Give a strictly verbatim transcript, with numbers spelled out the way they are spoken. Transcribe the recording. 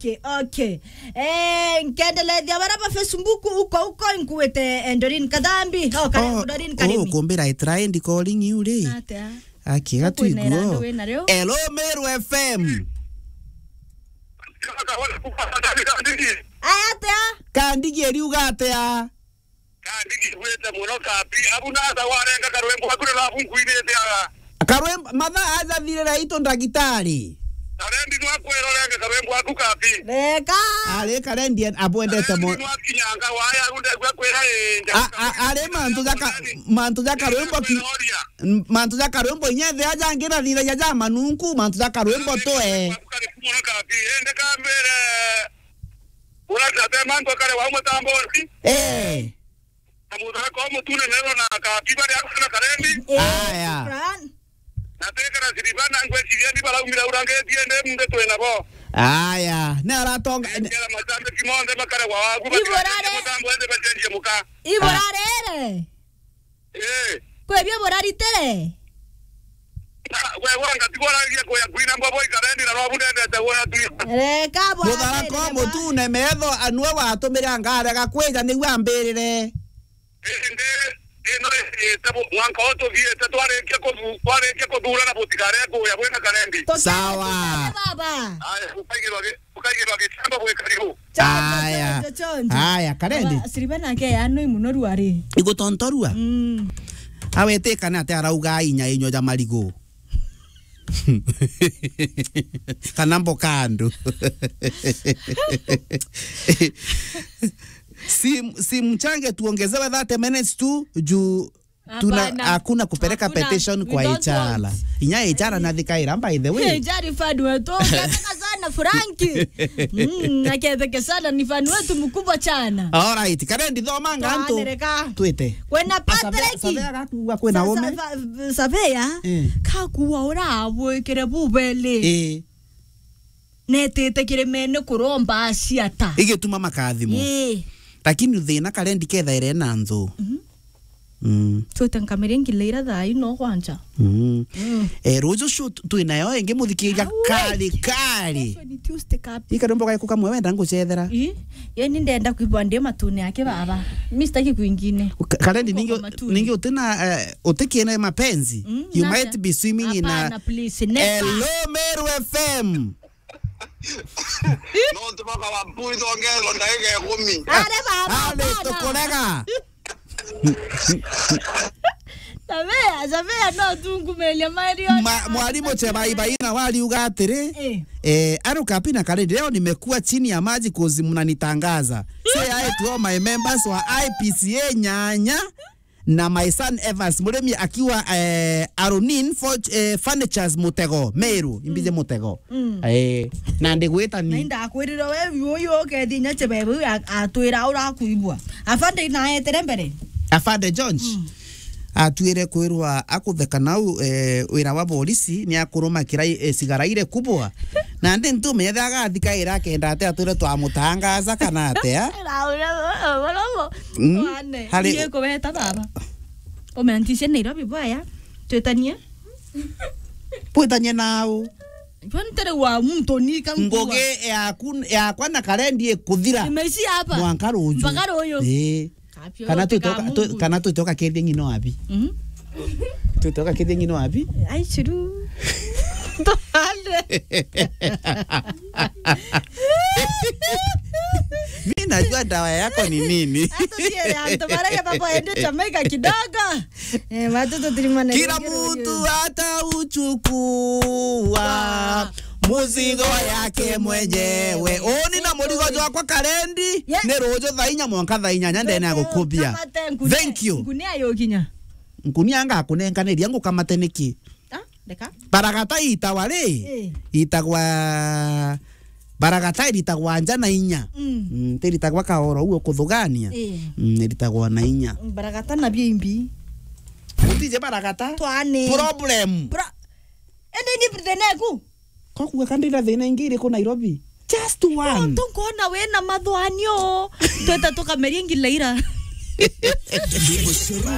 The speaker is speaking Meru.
Okay, okay. Eh, nkendelethia bara ba Facebook uko, uko, nkuite, eh, Doreen Kadhambi. Oh, Kare-, oh, Doreen Karimi. Oh, kumbira I tried calling you ri. Natia? Aki, gatu iguo. Hello, Meru F M. Aya atia? Kandigi eriuga atia? Kandi ngigwite mono kabi. Abu nasa warenga karwimbo aku na lafu nkwinite aga. Karwimbo, mathaa aja thirira itu ndagitari. Karendi nwa kwirorenge karwimbo aku kabi. Reka. Ari Karendi en-, abwendete mo-, nwa kinyanga waya runde gwa kwira inja. A, a, ari mantu ja ka-, mantu ja karwimbo ki-, mantu ja karwimbo inyethe aja ngira thira ja manunku, mantu ja karwimbo twe. Kari mono kabi. Ende kambere. Ura tate mantu akare wa mutambo ri. Eh. Na muthaka kwa mutune nero na kabi bari akana karendi. Eh, aya. Shukran. Na tekera siriba na ngweciria ni baraumira urangetie ndi mundu twina bo. Aya, ni aratonga. Ngera macambiki monthe makare wa wagu. Iburare. Mutambo ende bacenjie muka. Iburare ere. Eh. Kwebia buraritire. Na, we, wanga, tigoragia kuya kwina mbobo ikarendi na robu ndendete wona tu. Reka bwa. Muthara ko mutune metho anwe watumire angarega kwija niwe ambirire. Indi, ino, ite bu-, mwanka o tuthiite, twarikia kuthu-, twarikia kuthura na butigare kuya bwina karendi. Sawa. Baba. Aya, ukaigirwa gi-, ukaigirwa gicamba bwi karibu. Chonjo, aya. Chonjo, chonjo. Aya, karendi. Aba, siriba nake ya no imuno ruari. Igutontorua? Mm. Awetikana ati arauga inya inyo ja marigu. Kana mboka andu. Sim-, simchange tuongezewe thirty minutes tu juu tuna, hapana, hakuna kupeleka petition kwa H R. Inya H R na thikaira, by the way. H R ifadwe tu, sana sana Frank. Mm, naketheke sana ni fan wetu mkubwa sana. All right, karendi thoma ngantu. Twanereka. Twite. Kwena Patrick. Sabe, sabe agakuga kwena ume. Sa-, sa-, sabe ya. Eh. Kakuwa ura abwikire bubeli. Eh. Netite kirimene kuromba aciata. Igituma makathimo. Ii. Lakini thina karendi kethaire na nthu. Mhm. Mm. Twite nkamere ngileira thaa ino kwanja. Mm. Mm. Eh, ruju cio tu-, twinayo ingi muthikiria kari, kari. Kesho ni Tuesday kapi. Ika rumbo gaikuka mwe wenda ngucethera. Ii. Ye ni ndenda kwibwa ndi matune yake baba. Mi sitaki kwingine. Ka-, karendi ningi, ningi utina, eh, utikiene mapenzi. Mm, you might be swimming in a. Hapana, please, never. Hello, Meru F M. No, tubaka wa mpuri tongerwa ndagika ikumi. Are baba, are baba. Tukurega. Sabea, sabea, no tungumelia mario. Ma-, mwalimu Chebaibai na wariuga atiri, eh, eh, aruka pina kare leo nimekuwa chini ya maji 'cause mnanitangaza. Say hi to all my members wa I P C A nyanya. Na my son Evans Murimi akiwa, eh, Aronin Forge, eh, Furnitures Mutego, Meru, imbije Mutego. Mm. Eh, na ndigwita ni. Na indakwirire we uyu ukethi nya chebebe uyu a-, atwira urakuibwa. Afande na etere mbere. Afande George. Mm. Atwire kwirwa akutheka nau, eh, wira wa polisi ni akuruma kirai, eh, sigara ire kubwa. Na ndi ntume yethe agathikaira akenda ate atwire twamutangaza kana atia? Na uria, uria, uria, Mm. Wane. Hari- Iye kuweta baba. Umeantishe Nairobi bwaya. Twetanie. Twetanie nao. Kwani tere wa mtu ni kangua. Ngugi yaku, yakwa na karendi ikuthira. Imeishia hapa. Mwanka ruju. Mpaka ruju. Eh. Kapio kana yote tutoka, kama tu-, Mungu. Kana tutoka kethia ng'ino wapi? Mhm. Tutoka kethia ng'ino wapi? Ai, churu. Tuhale. Mi najua dawa yako ni nini. Hata siele, anto baraka papo ende Jamaica kidogo. Eh, watu tutirimane. Kila mtu atauchukua muzigo yake mwenyewe. Uni na muzigo jwakwa karendi, yeah, ni ruju thaa inya mwanka thaa inyanya ndene ya gukubia. Thank you. Ngunia yo kinya. Ngunia ngakunenkaniria ngukamate niki? Ah, ndeka. Baragata itawa ri? Eh. Itagwa baragata iritagwa nja na inya. Mm. Mm, tiritagwa kaoro uo kuthugania. Eh. Mm, iritagwa na inya. Baragata na bimbi. Utije baragata? Twane. Problem. Pro-, ende ni thina eku? Kokuga kandi ira thina ingi iriku Nairobi? Just one. Tontu nkona wina mathwanio. Tweta tukameria ngileira. Ndimbo cia